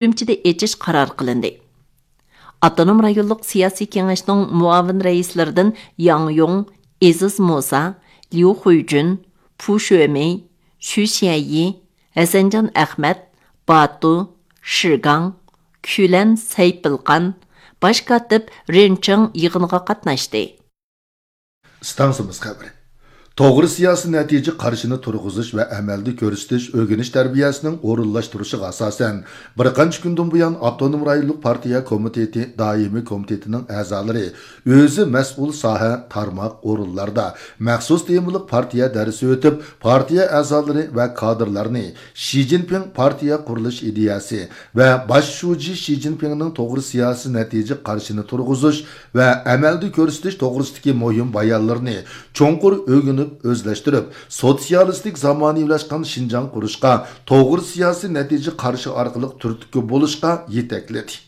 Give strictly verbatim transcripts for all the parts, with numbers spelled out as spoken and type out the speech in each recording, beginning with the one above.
ئۈرۈمچىدە ئېچىش قارار قىلىندى. ئاپتونوم رايونلۇق سىياسىي كېڭەشنىڭ مۇئاۋىن رەئىسلىرىدىن ياڭ يۇڭ، ئېزىز مۇسا، ليۇ خۇيجۈن، پۇ شۆمېي، شۈ شيەيي، ھەسەنجان ئەخمەت، باتۇ، شىگاڭ، كۈلەن سەيپىلقان، باش كاتىپ رېن چېڭ يىغىنغا قاتناشتى. ئىستانسىمىز خەۋىرى. توغرا سىياسىي نەتىجە قارىشىنى تۇرغۇزۇش ۋە ئەمەلدە كۆرسىتىش ئۆگىنىش تەربىيەسىنىڭ ئورۇنلاشتۇرۇشىغا ئاساسەن، بىر قانچە كۈندىن بۇيان ئاپتونوم رايونلۇق پارتىيە كومىتېتى دائىمىي كومىتېتىنىڭ ئەزالىرى ئۆزى مەسئۇل ساھە، تارماق، ئورۇنلاردا مەخسۇس تېمىلىق پارتىيە دەرسى ئۆتۈپ، پارتىيە ئەزالىرى ۋە كادىرلارنى شى جىنپىڭ پارتىيە قۇرۇلۇش ئىدىيەسى ۋە باش شۇجى شى جىنپىڭنىڭ توغرا سىياسىي نەتىجە قارىشىنى تۇرغۇزۇش ۋە ئەمەلدە كۆرسىتىش توغرىسىدىكى مۇھىم بايانلىرىنى چوڭقۇر ئۆگىنىپ ئۆزلەشتۈرۈپ، سوتسىيالىستىك زامانىۋىلاشقان شىنجاڭ قۇرۇشقا توغرا سىياسىي نەتىجە قارىشى ئارقىلىق تۈرتكە بولۇشقا يېتەكلىدى.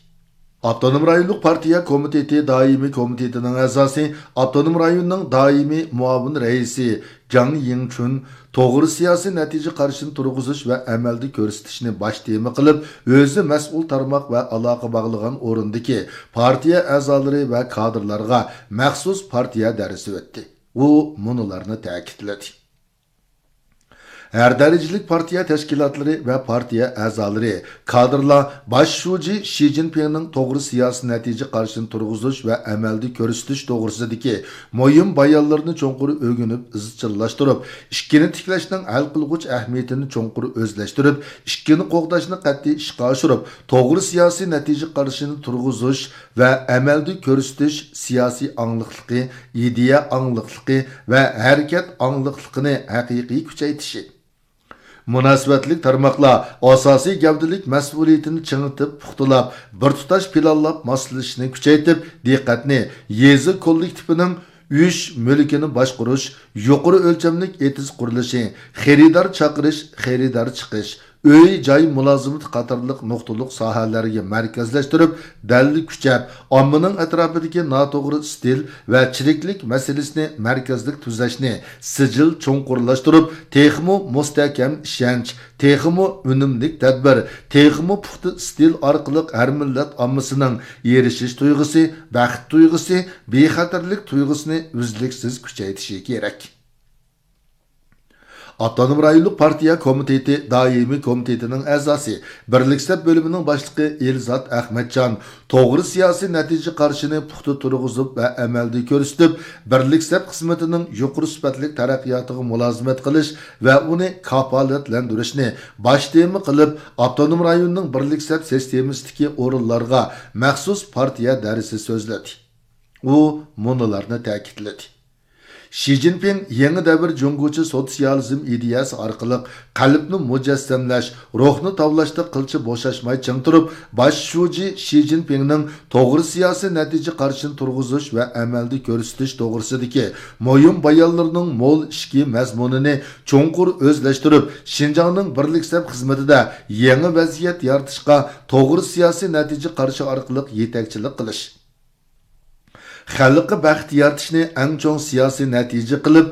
ئاپتونوم رايونلۇق پارتىيە كومىتېتى دائىمىي كومىتېتىنىڭ ئەزاسى، ئاپتونوم رايوننىڭ دائىمىي مۇئاۋىن رەئىسى جاڭ يىڭچۈن توغرا سىياسىي نەتىجە قارىشىنى تۇرغۇزۇش ۋە ئەمەلدە كۆرسىتىشنى باش تېما قىلىپ، ئۆزى مەسئۇل تارماق ۋە ئالاقە باغلىغان ئورۇندىكى پارتىيە ئەزالىرى ۋە كادىرلارغا مەخسۇس پارتىيە دەرسى ئۆتتى. ئۇ مۇنۇلارنى تەكىتلىدى. ھەر دەرىجىلىك پارتىيە تەشكىلاتلىرى ۋە پارتىيە ئەزالىرى، كادىرلار باش شۇجى شى جىنپىڭنىڭ توغرا سىياسىي نەتىجە قارىشىنى تۇرغۇزۇش ۋە ئەمەلدە كۆرسىتىش توغرىسىدىكى مۇھىم بايانلىرىنى چوڭقۇر ئۆگىنىپ ئىزچىللاشتۇرۇپ، ئىككىنى تىكلەشنىڭ ھەل قىلغۇچ ئەھمىيىتىنى چوڭقۇر ئۆزلەشتۈرۈپ، ئىككىنى قوغداشنى قەتئىي ئىشقا ئاشۇرۇپ، توغرا سىياسىي نەتىجە قارىشىنى تۇرغۇزۇش ۋە ئەمەلدە كۆرسىتىش سىياسىي ئاڭلىقلىقى، ئىدىيە ئاڭلىقلىقى ۋە ھەرىكەت ئاڭلىقلىقىنى ھەقىقىي كۈچەيتىشى. مۇناسىۋەتلىك تارماقلار ئاساسىي گەۋدىلىك مەسئۇلىيىتىنى چىڭىتىپ، پۇختىلاپ، بىر تۇتاش پىلانلاپ ماسلىشىشنى كۈچەيتىپ، دىققەتنى يېزا كوللېكتىپىنىڭ ئۈچ مۈلكىنى باشقۇرۇش، يۇقىرى ئۆلچەملىك ئېتىز قۇرۇلۇشى، خېرىدار چاقىرىش، خېرىدار چىقىش، ئۆي، جاي مۇلازىمىتى قاتارلىق نۇقتىلىق ساھەلەرگە مەركەزلەشتۈرۈپ، دەلىل كۈچەپ، ئاممىنىڭ ئەتراپىدىكى ناتوغرا ئىستىل ۋە چىرىكلىك مەسىلىسىنى مەركەزلىك تۈزەشنى سىجىل چوڭقۇرلاشتۇرۇپ، تېخىمۇ مۇستەھكەم ئىشەنچ، تېخىمۇ ئۈنۈملۈك تەدبىر، تېخىمۇ پۇختا ئىستىل ئارقىلىق ھەر مىللەت ئاممىسىنىڭ ئېرىشىش تۇيغۇسى، بەخت تۇيغۇسى، بىخەتەرلىك تۇيغۇسىنى ئۈزلۈكسىز كۈچەيتىشى كېرەك. ئاپتونوم رايونلۇق پارتىيە كومىتېتى دائىمىي كومىتېتىنىڭ ئەزاسى، بىرلىك سەپ بۆلۈمىنىڭ باشلىقى ئېلزات ئەخمەتجان توغرا سىياسىي نەتىجە قارىشىنى پۇختا تۇرغۇزۇپ ۋە ئەمەلدە كۆرسىتىپ، بىرلىك سەپ خىزمىتىنىڭ يۇقىرى سۈپەتلىك تەرەققىياتىغا مۇلازىمەت قىلىش ۋە ئۇنى كاپالەتلەندۈرۈشنى باش تېما قىلىپ، ئاپتونوم رايوننىڭ بىرلىك سەپ سىستېمىسىدىكى ئورۇنلارغا مەخسۇس پارتىيە دەرسى سۆزلىدى. ئۇ مۇنۇلارنى تەكىتلىدى. شى جىنپىڭ يېڭى دەۋر جۇڭگوچە سوتسىيالىزم ئىدىيەسى ئارقىلىق قەلبنى مۇجەسسەملەش، روھنى تاۋلاشتا قىلچە بوشاشماي چىڭ تۇرۇپ، باش شۇجى شى جىنپىڭنىڭ توغرا سىياسىي نەتىجە قارىشىنى تۇرغۇزۇش ۋە ئەمەلدە كۆرسىتىش توغرىسىدىكى مۇھىم بايانلىرىنىڭ مول ئىچكى مەزمۇنىنى چوڭقۇر ئۆزلەشتۈرۈپ، شىنجاڭنىڭ بىرلىك سەپ خىزمىتىدە يېڭى ۋەزىيەت يارىتىشقا توغرا سىياسىي نەتىجە قارىشى ئارقىلىق يېتەكچىلىك قىلىش. خەلققە بەخت يارىتىشنى ئەڭ چوڭ سىياسىي نەتىجە قىلىپ،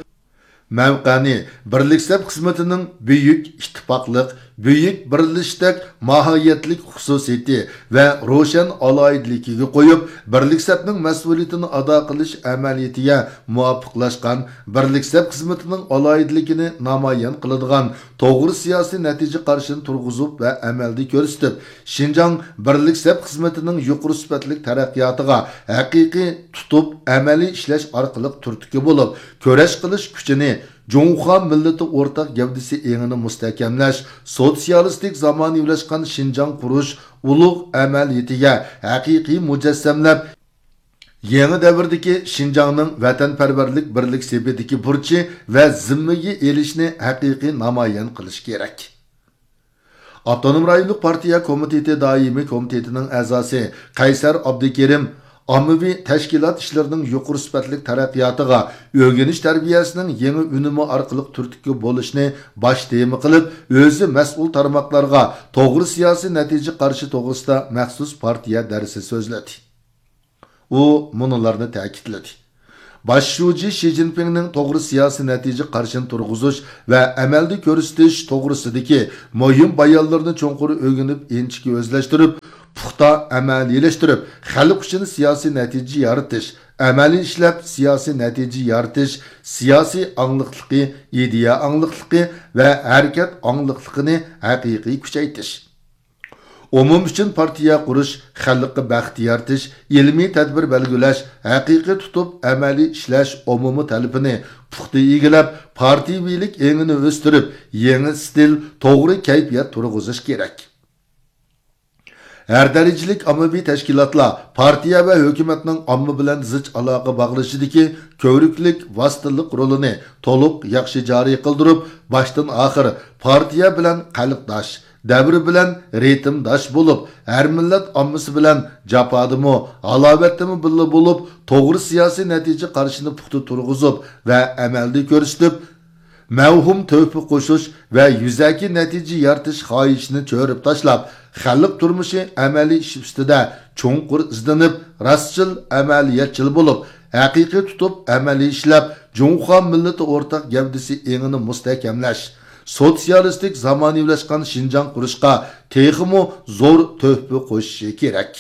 مەۋقەنى بىرلىك سەپ خىزمىتىنىڭ بۈيۈك ئىتتىپاقلىق، بۈيۈك بىرلىشىشتەك ماھىيەتلىك خۇسۇسىيىتى ۋە روشەن ئالاھىدىلىكىگە قويۇپ، بىرلىك سەپنىڭ مەسئۇلىيىتىنى ئادا قىلىش ئەمەلىيىتىگە مۇۋاپىقلاشقان، بىرلىك سەپ خىزمىتىنىڭ ئالاھىدىلىكىنى نامايان قىلىدىغان توغرا سىياسىي نەتىجە قارىشىنى تۇرغۇزۇپ ۋە ئەمەلدە كۆرسىتىپ، شىنجاڭ بىرلىك سەپ خىزمىتىنىڭ يۇقىرى سۈپەتلىك تەرەققىياتىغا ھەقىقىي تۇتۇپ ئەمەلىي ئىشلەش ئارقىلىق تۈرتكە بولۇپ، كۈرەش قىلىش كۈچىنى جۇڭخۇا مىللىتى ئورتاق گەۋدىسى ئېڭىنى مۇستەھكەملەش، سوتسىيالىستىك زامانىۋىلاشقان شىنجاڭ قۇرۇش ئۇلۇغ ئەمەلىيىتىگە ھەقىقىي مۇجەسسەملەپ، يېڭى دەۋردىكى شىنجاڭنىڭ ۋەتەنپەرۋەرلىك بىرلىك سېپىدىكى بۇرچى ۋە زىممىگە ئېلىشنى ھەقىقىي نامايان قىلىش كېرەك. ئاپتونوم رايونلۇق پارتىيە كومىتېتى دائىمىي كومىتېتىنىڭ ئەزاسى قەيسەر ئابدۇكېرىم ئاممىۋى تەشكىلات ئىشلىرىنىڭ يۇقىرى سۈپەتلىك تەرەققىياتىغا، ئۆگىنىش تەربىيەسىنىڭ يېڭى ئۈنۈمى ئارقىلىق تۈرتكە بولۇشنى باش تېما قىلىپ، ئۆزى مەسئۇل تارماقلارغا توغرا سىياسىي نەتىجە قارىشى توغرىسىدا مەخسۇس پارتىيە دەرسى سۆزلىدى. ئۇ مۇنۇلارنى تەكىتلىدى. باش شۇجى شى جىنپىڭنىڭ توغرا سىياسىي نەتىجە قارىشىنى تۇرغۇزۇش ۋە ئەمەلدە كۆرسىتىش توغرىسىدىكى مۇھىم بايانلىرىنى چوڭقۇر ئۆگىنىپ، ئىنچىكە ئۆزلەشتۈرۈپ، پۇختا ئەمەلىيلەشتۈرۈپ، خەلق ئۈچۈن سىياسىي نەتىجە يارىتىش، ئەمەلىي ئىشلەپ سىياسىي نەتىجە يارىتىش، سىياسىي ئاڭلىقلىقى، ئىدىيە ئاڭلىقلىقى ۋە ھەرىكەت ئاڭلىقلىقىنى ھەقىقىي كۈچەيتىش. ئومۇم ئۈچۈن پارتىيە قۇرۇش، خەلققە بەخت يارىتىش، ئىلمىي تەدبىر بەلگىلەش، ھەقىقىي تۇتۇپ ئەمەلىي ئىشلەش ئومۇمىي تەلىپىنى پۇختا ئىگىلەپ، پارتىيىۋىلىك ئېڭىنى ئۆستۈرۈپ، يېڭى ئىستىل، توغرا كەيپىيات تۇرغۇزۇش كېرەك. ھەر دەرىجىلىك ئاممىۋى تەشكىلاتلار پارتىيە ۋە ھۆكۈمەتنىڭ ئامما بىلەن زىچ ئالاقە باغلىشىشىدىكى كۆۋرۈكلۈك ۋاسىتىلىق رولىنى تولۇق ياخشى جارى قىلدۇرۇپ، باشتىن ئاخىر پارتىيە بىلەن قەلبداش، دەۋر بىلەن رىتىمداش بولۇپ، ھەر مىللەت ئاممىسى بىلەن جاپادىمۇ، ھالاۋەتتىمۇ بىللە بولۇپ، توغرا سىياسىي نەتىجە قارىشىنى پۇختا تۇرغۇزۇپ ۋە ئەمەلدە كۆرسىتىپ، مەۋھۇم تۆھپە قوشۇش ۋە يۈزەكى نەتىجە يارىتىش خاھىشىنى چۆرۈپ تاشلاپ، خەلق تۇرمۇشى ئەمەلىي ئىش ئۈستىدە چوڭقۇر ئىزدىنىپ، راستچىل، ئەمەلىيەتچىل بولۇپ، ھەقىقىي تۇتۇپ ئەمەلىي ئىشلەپ، جۇڭخۇا مىللىتى ئورتاق گەۋدىسى ئېڭىنى مۇستەھكەملەش، سوتسىيالىستىك زامانىۋىلاشقان شىنجاڭ قۇرۇشقا تېخىمۇ زور تۆھپە قوشۇشى كېرەك.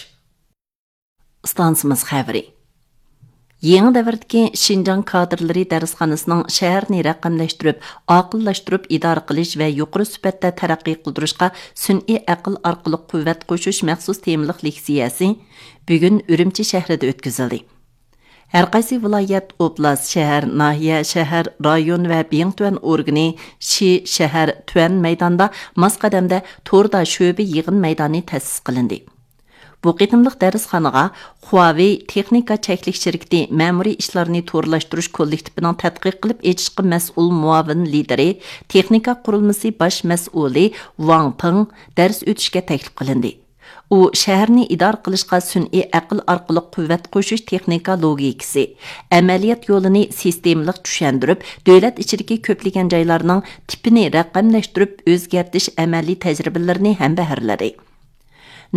ئىستانسىمىز خەۋىرى. يېڭى دەۋردىكى شىنجاڭ كادىرلىرى دەرسخانىسىنىڭ شەھەرنى رەقەملەشتۈرۈپ، ئاقىللاشتۇرۇپ ئىدارە قىلىش ۋە يۇقىرى سۈپەتتە تەرەققىي قىلدۇرۇشقا سۈنئىي ئەقىل ئارقىلىق قۇۋۋەت قوشۇش مەخسۇس تېمىلىق لېكسىيەسى بۈگۈن ئۈرۈمچى شەھىرىدە ئۆتكۈزۈلدى. ھەرقايسى ۋىلايەت، ئوبلاست، شەھەر، ناھىيە، شەھەر، رايون ۋە بىڭتۈەن ئورگىنى، شى، شەھەر، تۈەن مەيدانىدا ماس قەدەمدە توردا شۆبە يىغىن مەيدانى تەسىس قىلىندى. بۇ قېتىملىق دەرسخانىغا خۇاۋېي تېخنىكا چەكلىك شىركىتى مەمۇرىي ئىشلارنى تورلاشتۇرۇش كوللېكتىپىنىڭ تەتقىق قىلىپ ئېچىشقا مەسئۇل مۇئاۋىن لىدىرى، تېخنىكا قۇرۇلمىسى باش مەسئۇلى ۋاڭ پېڭ دەرس ئۆتۈشكە تەكلىپ قىلىندى. ئۇ شەھەرنى ئىدارە قىلىشقا سۈنئىي ئەقىل ئارقىلىق قۇۋۋەت قوشۇش تېخنىكا لوگىكىسى، ئەمەلىيەت يولىنى سىستېمىلىق چۈشەندۈرۈپ، دۆلەت ئىچىدىكى كۆپلىگەن جايلارنىڭ تىپىنى رەقەملەشتۈرۈپ ئۆزگەرتىش ئەمەلىي تەجرىبىلىرىنى ھەمبەھىرلىدى.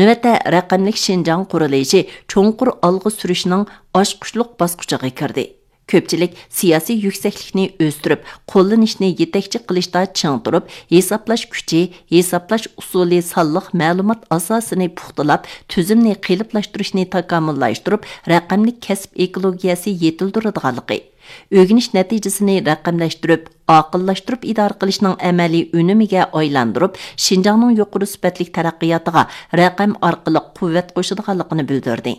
نۆۋەتتە رەقەملىك شىنجاڭ قۇرۇلۇشى چوڭقۇر ئالغا سۈرۈشنىڭ ئاچقۇچلۇق باسقۇچىغا كىردى. كۆپچىلىك سىياسىي يۈكسەكلىكنى ئۆستۈرۈپ، قوللىنىشنى يېتەكچى قىلىشتا چىڭ تۇرۇپ، ھېسابلاش كۈچى، ھېسابلاش ئۇسۇلى سانلىق مەلۇمات ئاساسىنى پۇختىلاپ، تۈزۈمنى قېلىپلاشتۇرۇشنى تاكامۇللاشتۇرۇپ، رەقەملىك كەسىپ ئېكولوگىيەسى يېتىلدۈرىدىغانلىقى، ئۆگىنىش نەتىجىسىنى رەقەملەشتۈرۈپ، ئاقىللاشتۇرۇپ ئىدارە قىلىشنىڭ ئەمەلىي ئۈنۈمىگە ئايلاندۇرۇپ، شىنجاڭنىڭ يۇقىرى سۈپەتلىك تەرەققىياتىغا رەقەم ئارقىلىق قۇۋۋەت قوشىدىغانلىقىنى بىلدۈردى.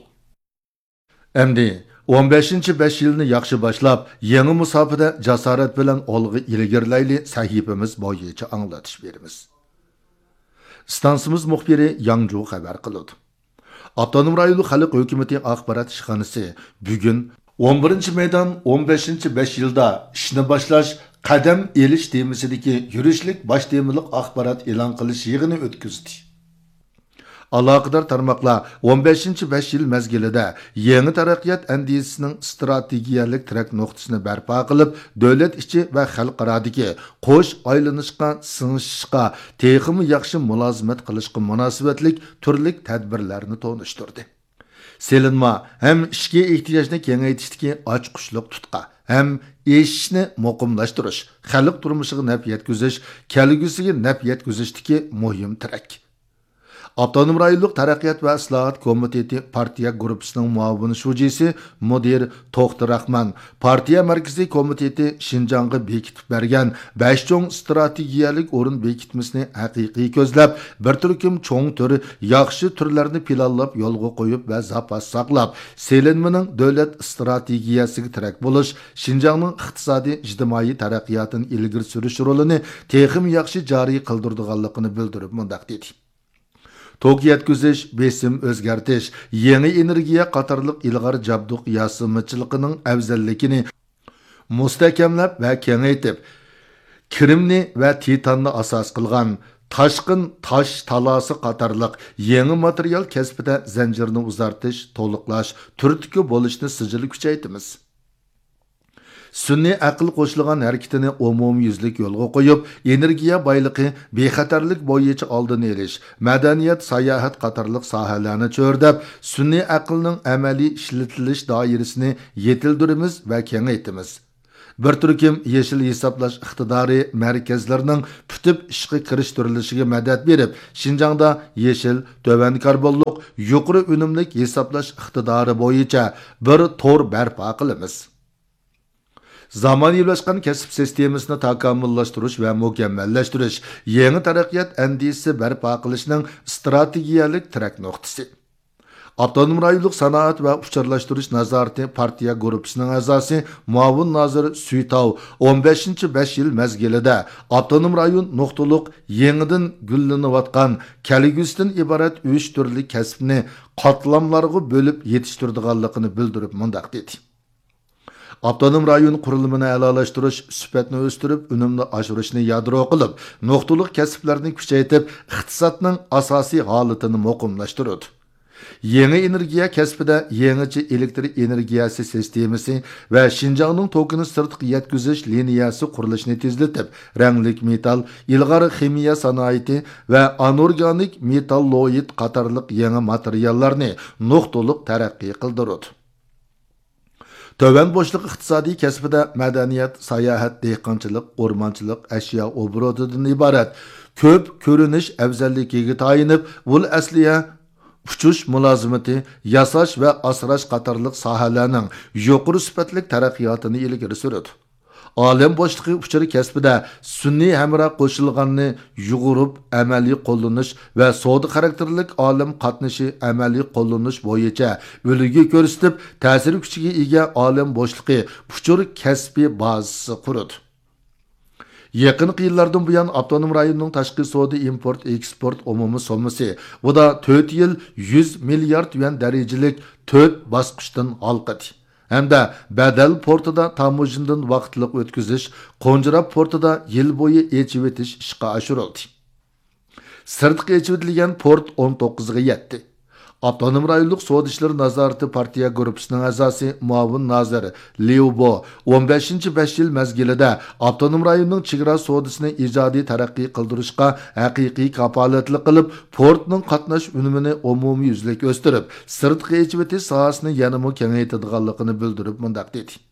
ئەمدى ئون بەشىنچى بەش يىلنى ياخشى باشلاپ، يېڭى مۇساپىدە جاسارەت بىلەن ئالغا ئىلگىرىلەيلى سەھىپىمىز بويىچە ئاڭلىتىش بېرىمىز. ئىستانسىمىز مۇخبىرى ياڭجۇ خەۋەر قىلىدۇ. ئاپتونوم رايونلۇق خەلق ھۆكۈمىتى ئاخبارات ئىشخانىسى بۈگۈن ئون بىرىنچى مەيدان ئون بەشىنچى بەش يىلدا ئىشنى باشلاش، قەدەم ئېلىش تېمىسىدىكى يۈرۈشلۈك باش تېمىلىق ئاخبارات ئېلان قىلىش يىغىنى ئۆتكۈزدى. ئالاقىدار تارماقلار ئون بەشىنچى بەش يىل مەزگىلىدە يېڭى تەرەققىيات ئەندىزىسىنىڭ ئىستراتېگىيەلىك تىرەك نۇقتىسىنى بەرپا قىلىپ، دۆلەت ئىچى ۋە خەلقئارادىكى قوش ئايلىنىشقا، سىڭىشىشقا تېخىمۇ ياخشى مۇلازىمەت قىلىشقا مۇناسىۋەتلىك تۈرلۈك تەدبىرلەرنى تونۇشتۇردى. سېلىنما ھەم ئىچكى ئېھتىياجنى كېڭەيتىشتىكى ئاچقۇچلۇق تۇتقا ھەم ئېشىشنى مۇقىملاشتۇرۇش، خەلق تۇرمۇشىغا نەپ يەتكۈزۈش، كەلگۈسىگە نەپ يەتكۈزۈشتىكى مۇھىم تىرەك. ئاپتونوم رايونلۇق تەرەققىيات ۋە ئىسلاھات كومىتېتى پارتىيە گۇرۇپپىسىنىڭ مۇئاۋىن شۇجىسى، مۇدىر توختى راخمان، پارتىيە مەركىزىي كومىتېتى شىنجاڭغا بېكىتىپ بەرگەن بەش چوڭ ئىستراتېگىيەلىك ئورۇن بېكىتمىسىنى ھەقىقىي كۆزلەپ، بىر تۈركۈم چوڭ تۈر، ياخشى تۈرلەرنى پىلانلاپ يولغا قويۇپ ۋە زاپاس ساقلاپ، سېلىنمىنىڭ دۆلەت ئىستراتېگىيەسىگە تىرەك بولۇش، شىنجاڭنىڭ ئىقتىسادىي، ئىجتىمائىي تەرەققىياتىنى ئىلگىرى سۈرۈش رولىنى تېخىمۇ ياخشى جارى قىلدۇرىدىغانلىقىنى بىلدۈرۈپ مۇنداق دېدى. توك يەتكۈزۈش، بېسىم ئۆزگەرتىش، يېڭى ئېنېرگىيە قاتارلىق ئىلغار جابدۇق ياسىمىچىلىقىنىڭ ئەۋزەللىكىنى مۇستەھكەملەپ ۋە كېڭەيتىپ، كىرىمنى ۋە تىتاننى ئاساس قىلغان تاشقىن تاش تالاسى قاتارلىق يېڭى ماتېرىيال كەسپىدە زەنجىرنى ئۇزارتىش، تولۇقلاش، تۈرتكە بولۇشنى سىجىل كۈچەيتىمىز. سۈنئىي ئەقىل قوشۇلغان ھەرىكىتىنى ئومۇميۈزلۈك يولغا قويۇپ، ئېنېرگىيە بايلىقى، بىخەتەرلىك بويىچە ئالدىنى ئېلىش، مەدەنىيەت، ساياھەت قاتارلىق ساھەلەرنى چۆرىدەپ، سۈنئىي ئەقىلنىڭ ئەمەلىي ئىشلىتىلىش دائىرىسىنى يېتىلدۈرىمىز ۋە كېڭەيتىمىز. بىر تۈركۈم يېشىل ھېسابلاش ئىقتىدارى مەركەزلىرىنىڭ پۈتۈپ ئىشقا كىرىشتۈرۈلۈشىگە مەدەت بېرىپ، شىنجاڭدا يېشىل، تۆۋەن كاربونلۇق، يۇقىرى ئۈنۈملۈك ھېسابلاش ئىقتىدارى بويىچە بىر تور بەرپا قىلىمىز. زامانىۋىلاشقان كەسىپ سىستېمىسىنى تاكامۇللاشتۇرۇش ۋە مۇكەممەللەشتۈرۈش، يېڭى تەرەققىيات ئەندىزىسى بەرپا قىلىشنىڭ ئىستراتېگىيەلىك تىرەك نۇقتىسى. ئاپتونوم رايونلۇق سانائەت ۋە ئۇچۇرلاشتۇرۇش نازارىتى پارتىيە گۇرۇپپىسىنىڭ ئەزاسى، مۇئاۋىن نازىر سۈيتاۋ ئون بەشىنچى بەش يىل مەزگىلىدە ئاپتونوم رايون نۇقتىلىق يېڭىدىن گۈللىنىۋاتقان كەلگۈسىدىن ئىبارەت ئۈچ تۈرلۈك كەسىپنى قاتلاملارغا بۆلۈپ يېتىشتۈرىدىغانلىقىنى بىلدۈرۈپ مۇنداق دېدى: ئاپتونوم رايون قۇرۇلمىنى ئەلالاشتۇرۇش، سۈپەتنى ئۆستۈرۈپ، ئۈنۈمنى ئاشۇرۇشنى يادرو قىلىپ، نۇقتىلىق كەسىپلەرنى كۈچەيتىپ، ئىقتىسادنىڭ ئاساسىي ھالىتىنى مۇقىملاشتۇرىدۇ. يېڭى ئېنېرگىيە كەسپىدە يېڭىچە ئېلېكتر ئېنېرگىيەسى سىستېمىسى ۋە شىنجاڭنىڭ توكىنى سىرتقا يەتكۈزۈش لىنىيەسى قۇرۇلۇشىنى تېزلىتىپ، رەڭلىك مېتال، ئىلغار خىمىيە سانائىتى ۋە ئانورگانىك مېتاللوئىد قاتارلىق يېڭى ماتېرىياللارنى نۇقتىلىق تەرەققىي قىلدۇرىدۇ. تۆۋەن بوشلۇق ئىقتىسادىي كەسپىدە مەدەنىيەت، ساياھەت، دېھقانچىلىق، ئورمانچىلىق، ئەشيا ئوبوروتىدىن ئىبارەت كۆپ كۆرۈنۈش ئەۋزەللىكىگە تايىنىپ، ئۇل ئەسلىھە، ئۇچۇش مۇلازىمىتى، ياساش ۋە ئاسراش قاتارلىق ساھەلەرنىڭ يۇقىرى سۈپەتلىك تەرەققىياتىنى ئىلگىرى سۈرىدۇ. ئالەم بوشلۇقى ئۇچۇر كەسپىدە سۈنئىي ھەمراھ قوشۇلغاننى يۇغۇرۇپ ئەمەلىي قوللىنىش ۋە سودا خاراكتېرلىك ئالەم قاتنىشى ئەمەلىي قوللىنىش بويىچە ئۈلگە كۆرسىتىپ، تەسىر كۈچىگە ئىگە ئالەم بوشلۇقى ئۇچۇر كەسپى بازىسى قۇرىدۇ. يېقىنقى يىللاردىن بۇيان، ئاپتونوم رايوننىڭ تاشقى سودا ئىمپورت ئېكسپورت ئومۇمىي سوممىسى ئۇدا تۆت يىل يۈز مىليارد يۈەن دەرىجىلىك تۆت باسقۇچتىن ھالقىدى ھەمدە بەدەل پورتىدا تاموژنىدىن ۋاقىتلىق ئۆتكۈزۈش، قونجىراپ پورتىدا يىل بويى ئېچىۋېتىش ئىشقا ئاشۇرۇلدى. سىرتقا ئېچىۋېتىلگەن پورت ئون توققۇزغا يەتتى. ئاپتونوم رايونلۇق سودا ئىشلىرى نازارىتى پارتىيە گۇرۇپپىسىنىڭ ئەزاسى، مۇئاۋىن نازىر ليۇ بو ئون بەشىنچى بەش يىل مەزگىلىدە ئاپتونوم رايوننىڭ چېگرا سودىسىنى ئىجادىي تەرەققىي قىلدۇرۇشقا ھەقىقىي كاپالەتلىك قىلىپ، پورتنىڭ قاتناش ئۈنۈمىنى ئومۇميۈزلۈك ئۆستۈرۈپ، سىرتقا ئېچىۋېتىش ساھەسىنى يەنىمۇ كېڭەيتىدىغانلىقىنى بىلدۈرۈپ مۇنداق دېدى: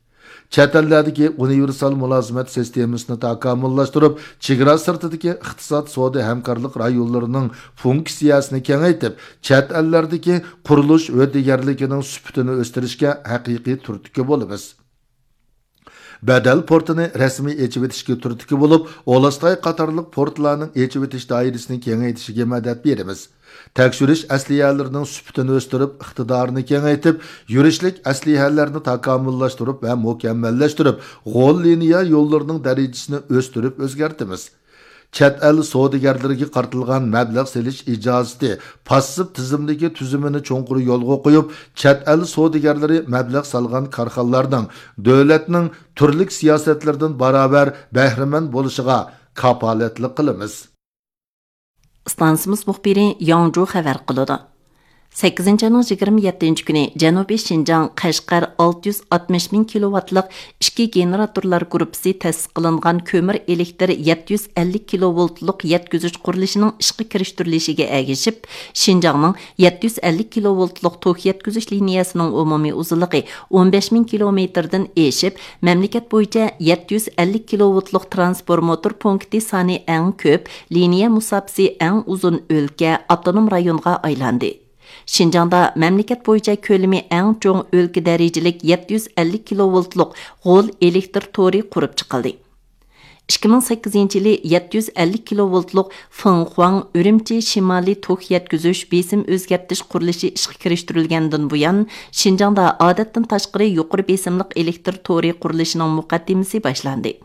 چەت ئەللەردىكى ئۇنىۋېرسال مۇلازىمەت سىستېمىسىنى تاكامۇللاشتۇرۇپ، چېگرا سىرتىدىكى ئىقتىساد سودا ھەمكارلىق رايونلىرىنىڭ فۇنكسىيەسىنى كېڭەيتىپ، چەت ئەللەردىكى قۇرۇلۇش ھۆددىگەرلىكىنىڭ سۈپىتىنى ئۆستۈرۈشكە ھەقىقىي تۈرتكە بولىمىز. بەدەل پورتىنى رەسمىي ئېچىۋېتىشكە تۈرتكە بولۇپ، ئولستاي قاتارلىق پورتلارنىڭ ئېچىۋېتىش دائىرىسىنى كېڭەيتىشىگە مەدەت بېرىمىز. تەكشۈرۈش ئەسلىھەلىرىنىڭ سۈپىتىنى ئۆستۈرۈپ، ئىقتىدارىنى كېڭەيتىپ، يۈرۈشلۈك ئەسلىھەلەرنى تاكامۇللاشتۇرۇپ ۋە مۇكەممەللەشتۈرۈپ، غول لىنىيە يوللىرىنىڭ دەرىجىسىنى ئۆستۈرۈپ ئۆزگەرتىمىز. چەت ئەل سودىگەرلىرىگە قارىتىلغان مەبلەغ سېلىش ئىجازىتى پاسسىپ تىزىملىكى تۈزۈمىنى چوڭقۇر يولغا قويۇپ، چەت ئەل سودىگەرلىرى مەبلەغ سالغان كارخانىلارنىڭ دۆلەتنىڭ تۈرلۈك سىياسەتلىرىدىن باراۋەر بەھرىمەن بولۇشىغا كاپالەتلىك قىلىمىز. ئىستانسىمىز مۇخبىرى ياڭجۇ خەۋەر قىلىدۇ. سەككىزىنچى ئاينىڭ يىگىرمە يەتتىنچى كۈنى جەنۇبىي شىنجاڭ قەشقەر ئالتە يۈز ئاتمىش مىڭ كىلوۋاتلىق ئىككى گېنېراتورلار گۇرۇپپىسى تەسىس قىلىنغان كۆمۈر ئېلېكتىر يەتتە يۈز ئەللىك كىلوۋولتلۇق يەتكۈزۈش قۇرۇلۇشىنىڭ ئىشقا كىرىشتۈرۈلۈشىگە ئەگىشىپ، شىنجاڭنىڭ يەتتە يۈز ئەللىك كىلوۋولتلۇق توك يەتكۈزۈش لىنىيەسىنىڭ ئومۇمىي ئۇزۇنلۇقى ئون بەش مىڭ كىلومېتىردىن ئېشىپ، مەملىكەت بويىچە يەتتە يۈز ئەللىك كىلوۋولتلۇق ترانسفورماتور پونكىتى سانى ئەڭ كۆپ، لىنىيە مۇساپىسى ئەڭ ئۇزۇن ئۆلكە، ئاپتونوم رايونغا ئايلاندى. شىنجاڭدا مەملىكەت بويىچە كۆلىمى ئەڭ چوڭ ئۆلكە دەرىجىلىك يەتتە يۈز ئەللىك كىلوۋولتلۇق غول ئېلېكتر تورى قۇرۇپ چىقىلدى. ئىككى مىڭ سەككىزىنچى يىلى يەتتە يۈز ئەللىك كىلوۋولتلۇق فېڭخۇاڭ ئۈرۈمچى شىمالىي توك يەتكۈزۈش بېسىم ئۆزگەرتىش قۇرۇلۇشى ئىشقا كىرىشتۈرۈلگەندىن بۇيان، شىنجاڭدا ئادەتتىن تاشقىرى يۇقىرى بېسىملىق ئېلېكتر تورى قۇرۇلۇشىنىڭ مۇقەددىمىسى باشلاندى.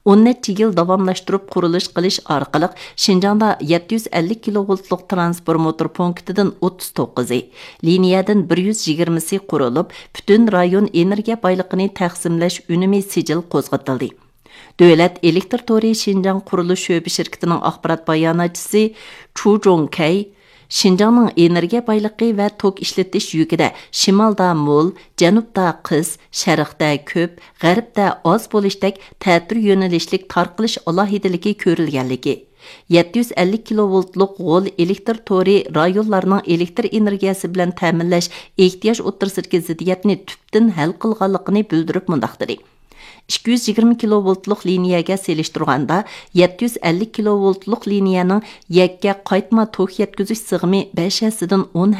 ئون نەچچە يىل داۋاملاشتۇرۇپ قۇرۇلۇش قىلىش ئارقىلىق، شىنجاڭدا يەتتە يۈز ئەللىك كىلوۋولتلۇق ترانسفورماتور پونكىتىدىن ئوتتۇز توققۇزى، لىنىيەدىن بىر يۈز يىگىرمىسى قۇرۇلۇپ، پۈتۈن رايون ئېنېرگىيە بايلىقىنى تەقسىملەش ئۈنۈمى سىجىل قوزغىتىلدى. دۆلەت ئېلېكتر تورى شىنجاڭ قۇرۇلۇش شۆبە شىركىتىنىڭ ئاخبارات باياناتچىسى چۇ جوڭكەي شىنجاڭنىڭ ئېنېرگىيە بايلىقى ۋە توك ئىشلىتىش يۈكىدە شىمالدا مول، جەنۇبتا قىس، شەرقتە كۆپ، غەربتە ئاز بولۇشتەك تەتۈر يۆنىلىشلىك تارقىلىش ئالاھىدىلىكى كۆرۈلگەنلىكى، يەتتە يۈز ئەللىك كىلوۋولتلۇق غول ئېلېكتر تورى رايونلارنىڭ ئېلېكتر ئېنېرگىيەسى بىلەن تەمىنلەش ئېھتىياج ئوتتۇرىسىدىكى زىددىيەتنى تۈپتىن ھەل قىلغانلىقىنى بىلدۈرۈپ مۇنداق دېدى: ئىككى يۈز يىگىرمە كىلوۋولتلۇق لىنىيەگە سېلىشتۇرغاندا، يەتتە يۈز ئەللىك كىلوۋولتلۇق لىنىيەنىڭ يەككە قايتما توك يەتكۈزۈش سىغىمى بەش ھەسسىدىن ئون